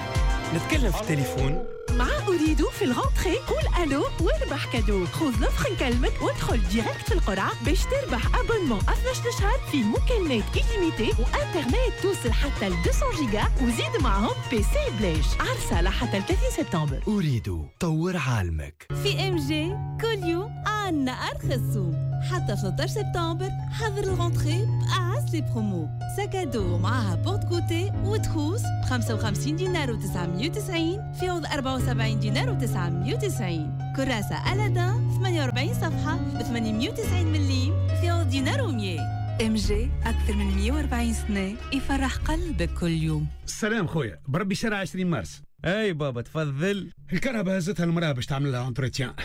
نتكلم في التليفون. مع أوريدو في ال rentrée قول ألو واربح cadeau. خذ l'offre نكلمك وادخل direct في القرعة باش تربح abonnement اثناش شهر في مكالمات illimitées وانترنت توصل حتى ل مئتين جيجا، وزيد معهم PC بلاش. عرسة لحتى ثلاثين سبتمبر. أوريدو طور عالمك. في ام جي كل يوم عنا أرخص سوم حتى ثلاثة عشر سبتمبر. حضر ال rentrée بأعز les promos. sac à dos معاها porte-goûter و trousse ب خمسة وخمسين دينار وتسعمية وتسعين في عوض أربعة وسبعين دينار وتسعمية وتسعين. كراسة ألادان ثمانية وأربعين صفحة ب ثمانمية وتسعين مليم في عوض دينار ومية. ام جي أكثر من مية وأربعين سنة يفرح قلبك كل يوم. السلام خويا، بربي شارع عشرين مارس. اي بابا تفضل. الكرهبة هزتها المرأة باش تعمل لها entretien.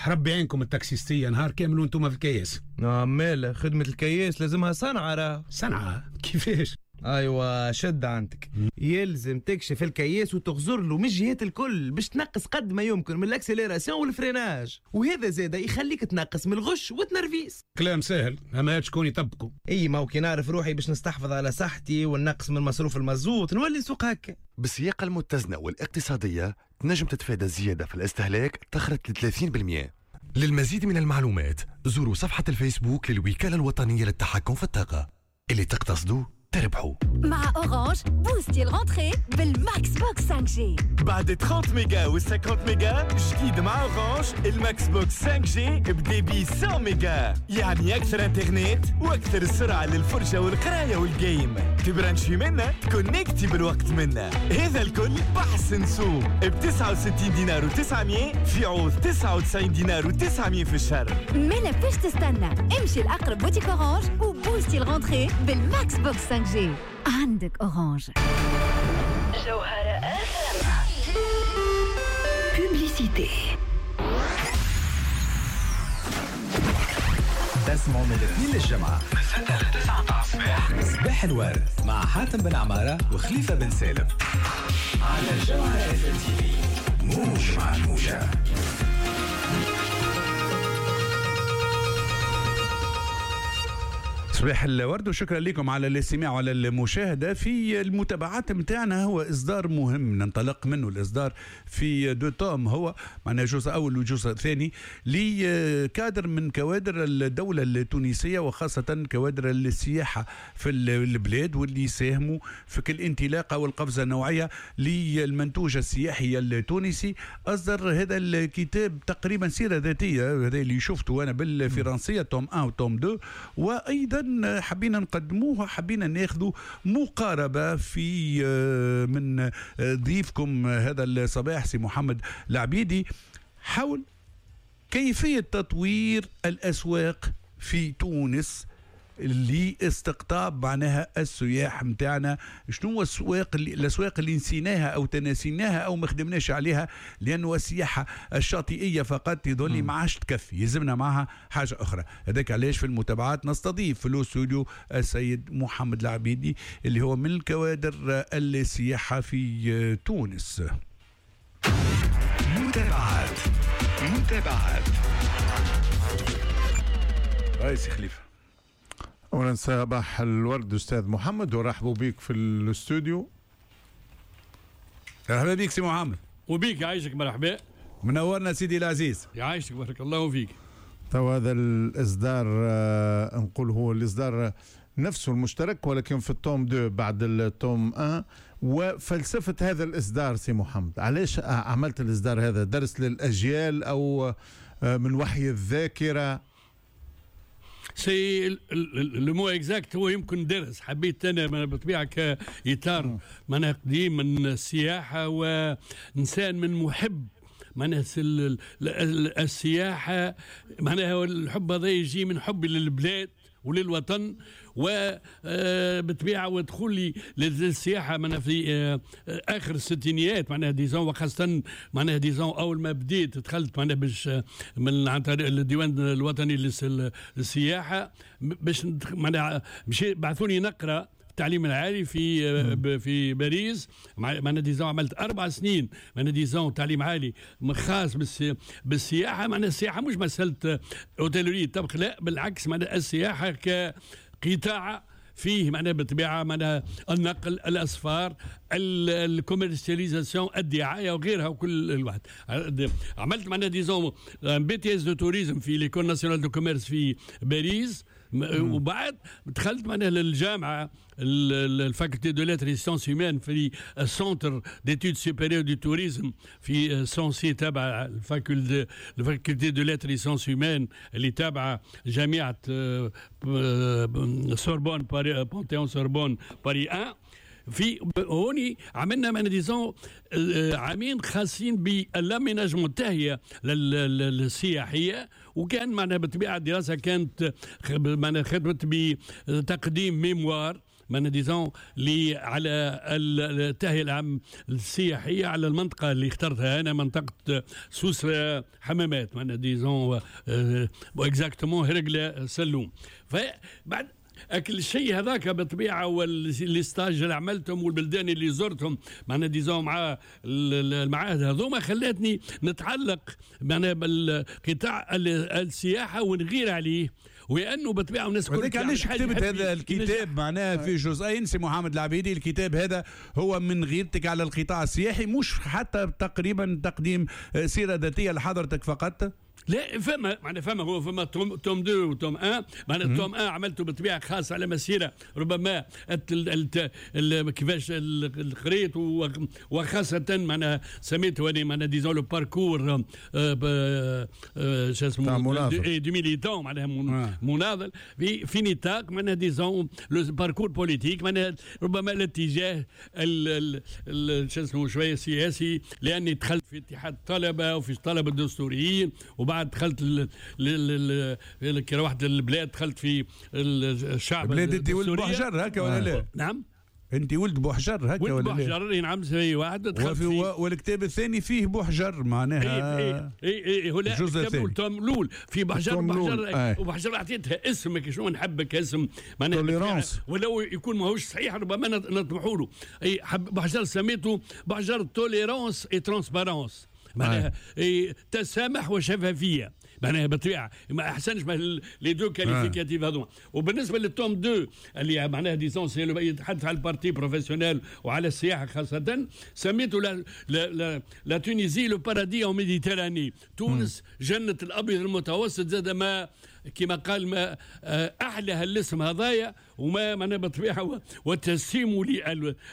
ربي يعينكم التاكسيستيه، نهار كامل وانتم في الكياس. مالا خدمة الكياس لازمها صنعه راه. صنعه كيفاش؟ ايوه شد عندك، يلزم تكشف الكياس وتغزر له من الجهات الكل باش تنقص قد ما يمكن من ال accélération وال freinage، وهذا زاده يخليك تنقص من الغش والتنرفيز. كلام سهل، اما شكون يطبقه؟ اي ما هو كي نعرف روحي باش نستحفظ على صحتي ونقص من مصروف المازوت نولي نسوق هكا. بالسياقة المتزنة والاقتصادية تنجم تتفادى الزيادة في الاستهلاك تخرج ل ثلاثين بالمئة. للمزيد من المعلومات زوروا صفحة الفيسبوك للوكالة الوطنية للتحكم في الطاقة. اللي تقتصدوا تربحوا. مع Orange بوستي ال rentrée بال Max Box خمسة G. بعد ثلاثين ميجا و خمسين ميجا جديد مع Orange ال Max Box خمسة G ب débit مية ميجا، يعني اكثر انترنت واكثر سرعة للفرجه والقرايه وال game. تبرانشي منا تكونكتي بالوقت منا، هذا الكل بحسن سوم ب تسعة وستين دينار وتسعمية في عوض تسعة وتسعين دينار وتسعمية في الشهر. مالا فاش تستنى؟ امشي لاقرب boutique Orange وبوستي ال rentrée بال Max Box خمسة G. عندك Orange. جوهرة publicité. تسمعوا من الاثنين للجمعة من ستة ل تسعة متاع الصباح، صباح الورد مع حاتم بن عمارة وخليفة بن سالم على جوهرة TV، موج مع الموجة. صباح الورد وشكرا لكم على الاستماع وعلى المشاهدة. في المتابعات متاعنا هو إصدار مهم ننطلق منه، الإصدار في deux tomes، هو معنا جزء أول وجزء ثاني لكادر من كوادر الدولة التونسية وخاصة كوادر السياحة في البلاد، واللي ساهموا في كل انطلاقة والقفزة النوعية للمنتوج السياحي التونسي. أصدر هذا الكتاب تقريبا سيرة ذاتية، هذا اللي شفته أنا بالفرنسية tome واحد و tome اثنين، وأيضا حبينا نقدموها، حبينا ناخذوا مقاربة في من ضيفكم هذا الصباح سي محمد العبيدي حول كيفية تطوير الأسواق في تونس لاستقطاب معناها السياح متاعنا. شنو هو السواق اللي الاسواق اللي نسيناها او تناسيناها او ما خدمناش عليها، لانه السياحة الشاطئيه فقط يظل ما عادش تكفي، يلزمنا معها حاجة اخرى. هذاك علاش في المتابعات نستضيف في الاستوديو السيد محمد العبيدي اللي هو من الكوادر السياحة في تونس. متابعات متابعات هاي سي خليفة. أولا صباح الورد أستاذ محمد، ورحبوا بك في الاستوديو. مرحبا بك سي محمد. وبيك يعيشك، مرحبا. منورنا سيدي العزيز. يعيشك بارك الله فيك. تو هذا الإصدار آه نقول هو الإصدار نفسه المشترك ولكن في ال tome اثنين بعد ال tome واحد. وفلسفة هذا الإصدار سي محمد، علاش عملت الإصدار هذا؟ درس للأجيال أو من وحي الذاكرة؟ c'est le mot exact هو يمكن درس. حبيت انا بالطبيعة كاطار معناها قديم من السياحة وانسان من محب معناها السياحة، معناها الحب هذا يجي من حبي للبلاد وللوطن، وبالطبيعه ودخولي للسياحة معناها في اخر الستينيات معناها disons، وخاصة معناها disons اول ما بديت دخلت معناها باش من عن طريق الديوان الوطني للسياحة باش معناها مشي بعثوني نقرا التعليم العالي في في باريس. معناها disons عملت اربع سنين معناها disons تعليم عالي خاص بالسياحة. معناها السياحة مش مسالة hôtellerie طبخ، لا بالعكس، معناها السياحة كقطاع فيه معناها بالطبيعة معناها النقل، الاسفار، ال commercialisation، الدعاية وغيرها وكل الواحد. عملت معناها disons BTS de tourisme في l'École nationale de commerce في باريس، وبعد دخلت معناها للجامعة ال faculté de lettres sciences humaines في ال centre d'études supérieures du tourisme في Censier تابع ال faculté ال faculté de lettres sciences humaines اللي تابعه جامعه سوربون باري Panthéon Sorbonne Paris واحد. في هوني عملنا معنا disons عامين خاصين بال aménagement التهيئه السياحية، وكان معنا بالطبيعة الدراسة كانت معنا خدمت بتقديم mémoire معناها disons اللي على التهيئه العام السياحية على المنطقة اللي اخترتها انا، منطقة سوسة حمامات، معناها disons exactement هرقله سلوم. فبعد اكل الشيء هذاك بالطبيعة وال les stages اللي عملتهم والبلدان اللي زرتهم معناها disons مع المعاهد هذوما خلتني نتعلق معناها بالقطاع السياحة ونغير عليه، ولانه بالطبيعة الناس كل وذلك علاش كتبت هذا الكتاب معناها في جزئين سي محمد العبيدي. الكتاب هذا هو من غيرتك على القطاع السياحي، مش حتى تقريبا تقديم سيره ذاتية لحضرتك فقط. لا فما معناها فما هو فما tome tome اثنين و tome واحد. معناها tome واحد عملته بالطبيعة خاص على مسيره ربما كيفاش قريت، وخاصة معناها سميته انا معناها disons le parcours شو اسمه du militant، معناها مناضل في في نطاق معناها disons le parcours politique، معناها ربما الاتجاه شو اسمه شوية سياسي، لاني دخلت في اتحاد الطلبة وفي الطلبة الدستوريين، وبعد دخلت ل... ل... ل... كي روحت للبلاد دخلت في الشعب. بلاد انت ولد بوحجر هكا ولا لا؟ نعم انت ولد بوحجر هكا ولا لا؟ ولد بوحجر نعم سي واحد. دخلت في... والكتاب الثاني فيه بوحجر معناها اي اي اي هو لا الكتاب ال tome الاول في بوحجر، بوحجر وبوحجر عطيتها اسمك شنو نحبك اسم معناها ولو يكون ماهوش صحيح ربما نطمحوا له. اي بوحجر سميته بوحجر tolérance et transparence، معناها إيه تسامح وشفافيه، معناها بالطبيعة ما احسنش les deux qualificatifs هذوما. وبالنسبة لل tome اثنين اللي معناها disons c'est يتحدث على ال partie professionnelle وعلى السياحة خاصة، سميته la la la, la Tunisie le paradis en Méditerranée، تونس جنة الابيض المتوسط. زاد ما كما قال ما احلى هالاسم هذايا، وما معناها بالطبيعة وتسيم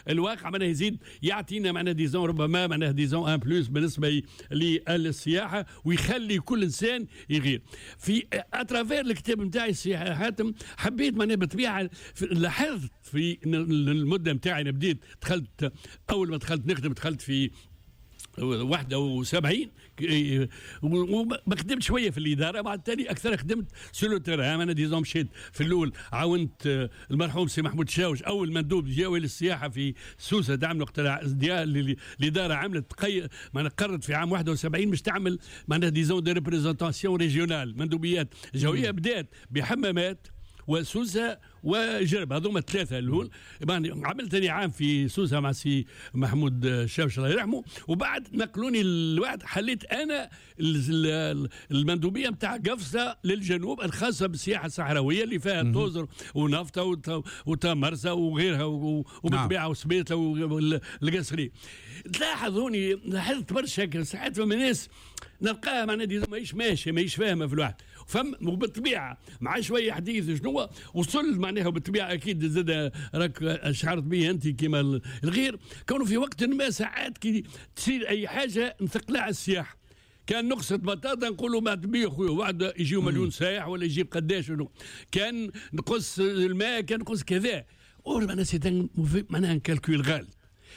للواقع معناها يزيد يعطينا معناها disons ربما معناها disons un plus بالنسبة للسياحة، ويخلي كل انسان يغير في à travers الكتاب نتاعي السياحة حاتم. حبيت معناها بالطبيعة لاحظت في المدة نتاعي، انا بديت دخلت اول ما دخلت نخدم دخلت في واحد وسبعين وما خدمت شوية في الادارة، بعد تالي اكثر خدمت sur le terrain. انا disons مشيت في الاول عاونت المرحوم سي محمود شاوش اول مندوب جاوي للسياحة في سوسة، دعم وقت الادارة عملت قي... معناها قررت في عام واحد وسبعين باش تعمل معناها disons des représentations régionales، مندوبيات جوية. بدات بحمامات وسوسه وجرب، هذوما الثلاثة الاول. يعني عملت ثاني عام في سوسة مع سي محمود شاوش الله يرحمه، وبعد نقلوني الواحد حليت انا المندوبيه نتاع قفصه للجنوب الخاصة بالسياحة الصحراوية اللي فيها توزر ونفطه وتمرسه وغيرها وبالطبيعه وسبيطه والقصري. تلاحظوني لاحظت برشا ساعات فما ناس نلقاها معناها ماهيش ماشية ماهيش فاهمه في الواحد فم، وبالطبيعه مع شوية حديث شنو وصل معناها بالطبيعة اكيد زاد راك شعرت به انت كما الغير، كونه في وقت ما ساعات كي تصير اي حاجة نثقلها على السياحة. كان نقصة بطاطا نقولوا ما تبيع خويا، وعد يجيو مليون سايح ولا يجيب قداش، كان نقص الماء كان نقص كذا، اور معناها c'est معناها calcul غالي.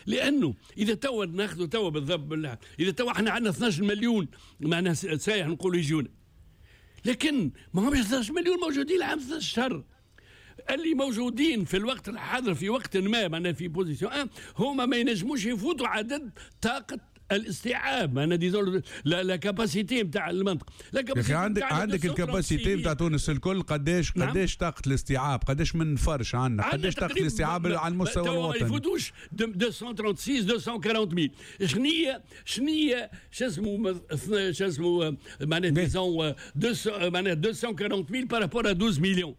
لانه اذا توا ناخذوا توا بالضبط، اذا توا احنا عندنا اثناش مليون معناها سايح نقولوا يجونا، لكن ما همش اثناش مليون موجودين العام اثناش شهر. اللي موجودين في الوقت الحاضر في وقت ما معناها في position هما ما ينجموش يفوتوا عدد طاقة الاستيعاب، معناها disons la la capacité نتاع المنطقة. la عندك عندك ال capacité نتاع تونس الكل قداش قداش طاقة الاستيعاب، قداش من فرش عندنا، قداش طاقة الاستيعاب على المستوى الوطني؟ ما يفوتوش مئتين وستة وثلاثين مئتين وأربعين mille. شنية شنية شو اسمه شو اسمه معناها disons معناها مئتين وأربعين mille par rapport à اثنا عشر مليون،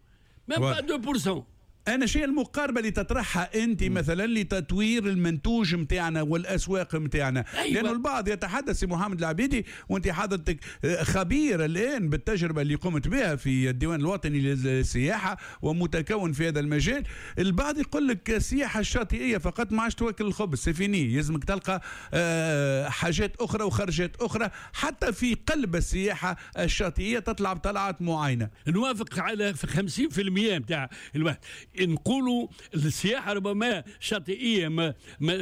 même pas اثنين بالمية. أنا شيء المقاربة اللي تطرحها أنت مثلا لتطوير المنتوج متاعنا والأسواق متاعنا. أيوة. لأنه البعض يتحدث سي محمد العبيدي وأنت حضرتك خبير الآن بالتجربة اللي قمت بها في الديوان الوطني للسياحة ومتكون في هذا المجال، البعض يقول لك السياحة الشاطئية فقط ما عادش توكل الخبز، c'est fini، يلزمك تلقى حاجات أخرى وخرجات أخرى حتى في قلب السياحة الشاطئية تطلع بطلعات معينة. نوافق على خمسين بالمية متاع الواحد. نقولوا السياحة ربما شاطئيه ما, ما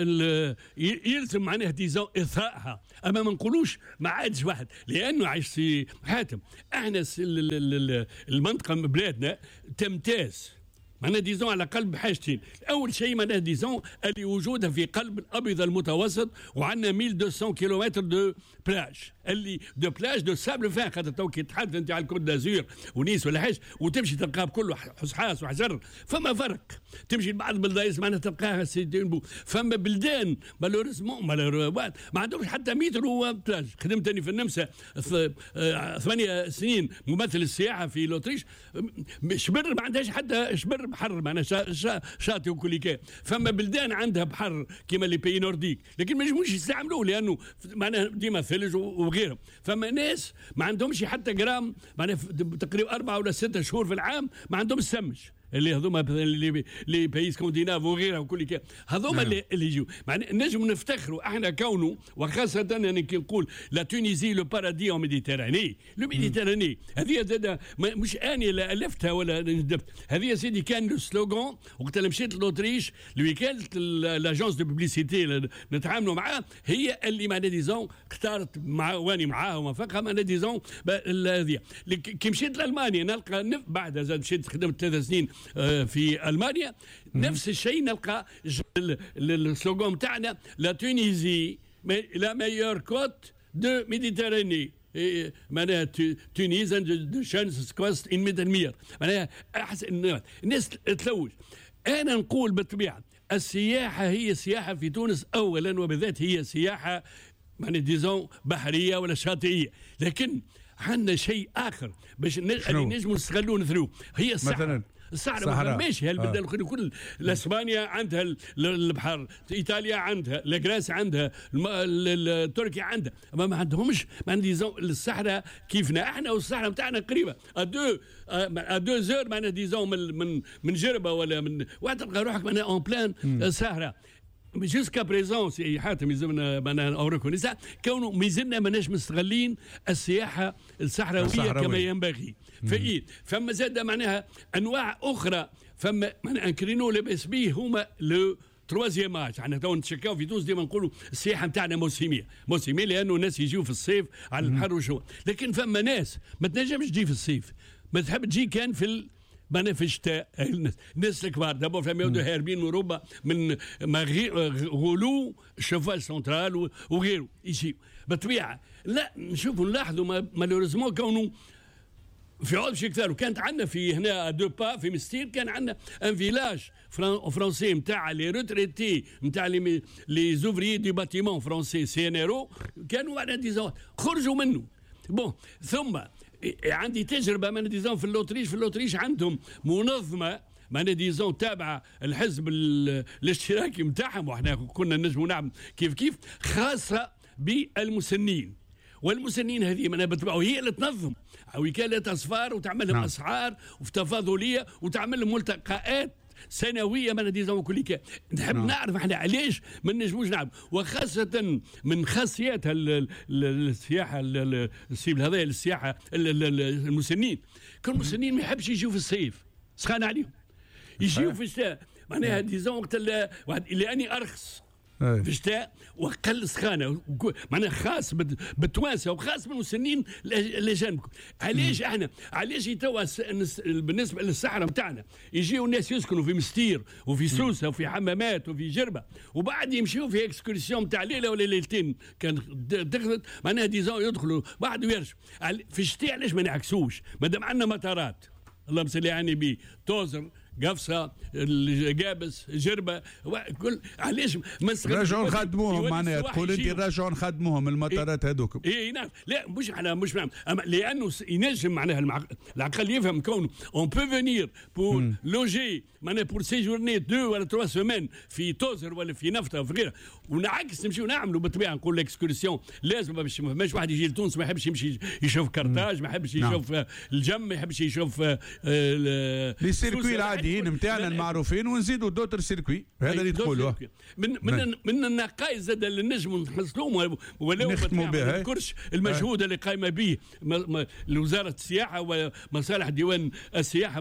يلزم معناها disons اثرائها، اما ما نقولوش ما عادش واحد، لانه عايش سي حاتم احنا المنطقة بلادنا تمتاز معناها disons على قلب حاجتين. اول شيء معناها disons اللي وجودها في قلب الابيض المتوسط، وعندنا ألف ومئتين كيلومتر de plage، اللي de plage de sable fin، خاطر تو كي تحدث انت على ال Côte d'Azur ونيس ولا حاجة وتمشي تلقاها كله حصحاص وحجر. فما فرق، تمشي لبعض البلدان معناها تلقاها c'est beau. فما بلدان malheureusement ما عندهمش حتى متر بلاج. خدمت في النمسا آه، ثمانية سنين ممثل السياحة في l'Autriche، شبر ما عندهاش حتى شبر بحر، معناها شاطئ وكل. فما بلدان عندها بحر كيما les pays nordiques، لكن ما ينجموش يستعملوه لانه معناها ديما ثلج وغيره. فما ناس ما عندهمش حتى جرام، معناها تقريبا اربعة ولا ستة شهور في العام ما عندهمش سمش، اللي هذوما les les pays scandinaves وغيرها وكل كي هذوما. نعم. اللي, اللي يجوا معناها نجم نفتخروا احنا كونه، وخاصة يعني كي نقول la Tunisie le paradis en Méditerranée، le Méditerranée هذه زاد مش اني اللي الفتها ولا ندبت هذه يا سيدي. كان le slogan وقت اللي مشيت l'Autriche، الوكالة l'agence de publicité نتعاملوا معاه هي اللي معناها disons اختارت مع واني معاها وافقها معناها disons هذه. كي مشيت لالمانيا نلقى، بعدها زاد مشيت خدمت ثلاث سنين آه، في المانيا، نفس الشيء، نلقى ال slogan تاعنا la Tunisie la meilleure côte de Méditerranée، معناها Tunesien de schönste Küste im Mittelmeer، معناها احسن الناس تلوج. انا نقول بالطبيعة السياحة هي السياحة في تونس اولا وبالذات هي سياحة معناها disons بحرية ولا شاطئيه، لكن عندنا شيء اخر باش نجموا نستغلوه نثروه، هي الصحراء. مثلا الصحراء ما فماش هالبلدان آه. الاخرين الكل، اسبانيا عندها البحر، ايطاليا عندها، la Grèce عندها، تركيا عندها، ما ما عندهمش ما عندي الصحراء كيفنا احنا، والصحراء نتاعنا قريبه à deux à deux heures معناها disons من من من جربه ولا من واحد تلقى روحك معناها en plein صحراء. jusqu'à présent سي حاتم يلزمنا معناها on reconnaît كونه مازلنا ماناش مستغلين السياحة الصحراوية كما ينبغي. فإيه فما زاد معناها انواع اخرى، فما معناها un créneau لاباس به هما le troisième âge. احنا تو نتشكاو في تونس ديما نقولوا السياحة نتاعنا موسميه، موسميه لانه الناس يجيو في الصيف على البحر وشو، لكن فما ناس ما تنجمش تجي في الصيف، ما تحب تجي كان في ال... معناها في الشتاء. الناس الكبار d'abord فما يبدو هاربين من اوروبا من غلو ال chauffage central وغيره يجيو بالطبيعه. لا نشوفوا نلاحظوا malheureusement كونه في عوض شي كثار، وكانت عندنا في هنا deux pas في مستير كان عندنا un village français نتاع les retraités نتاع les les ouvriers du bâtiment français CNRO، كانوا معناها disons خرجوا منه. bon ثم عندي تجربه معناها disons في l'Autriche في l'Autriche عندهم منظمة معناها disons تابعه الحزب الاشتراكي نتاعهم، وحنا كنا نجموا نعمل كيف كيف، خاصة بالمسنين. والمسنين هذه معناها بالطبع هي اللي تنظم وكالة اسفار وتعمل لهم نعم. اسعار وتفاضليه وتعمل لهم ملتقيات سنوية معناها disons كل. نحب نعم. نعرف احنا علاش ما نجموش نعرف، وخاصة من خاصيات السياحة ال cible هذا السياحة المسنين، كل المسنين ما يحبش يجيو في الصيف، سخان عليهم، يجيو في الشتاء معناها disons وقت لاني ارخص في الشتاء واقل سخانه، معناها خاص بالتوانسه وخاص بالمسنين الاجانب. علاش احنا علاش توا بالنسبة للصحراء نتاعنا يجيو الناس يسكنوا في مستير وفي سوسة وفي حمامات وفي جربه، وبعد يمشيو في excursion تاع ليلة ولا ليلتين كان دخلت معناها disons يدخلوا بعد ويرجعوا في الشتاء. علاش ما نعكسوش؟ مادام عندنا مطارات، اللهم صل على النبي، توزر، قفصه، قابس، جربه، كل علاش ما رجعوا نخدموهم؟ معناها تقول انت رجعوا نخدموهم المطارات هذوك؟ اي نعم، لا مش على مش نعم، لانه ينجم معناها العقل يفهم كونه on peut venir pour loger معناها pour séjourner deux ولا trois semaines في توزر ولا في نفطه وفي غيرها، ونعكس نمشيو نعملوا بالطبيعة نقول l'excursion لازم باش ما فماش واحد يجي لتونس ما يحبش يمشي يشوف كرتاج، ما يحبش نعم. يشوف الجم، ما يحبش يشوف les circuits العاديين نتاعنا المعروفين ونزيدوا d'autres circuits، هذا اللي تقولوه. من من من النقائص زاد اللي نجموا نحصلوهم ولو نختموا بها نذكرش المجهود اللي قايمة به وزارة السياحة ومصالح ديوان السياحه.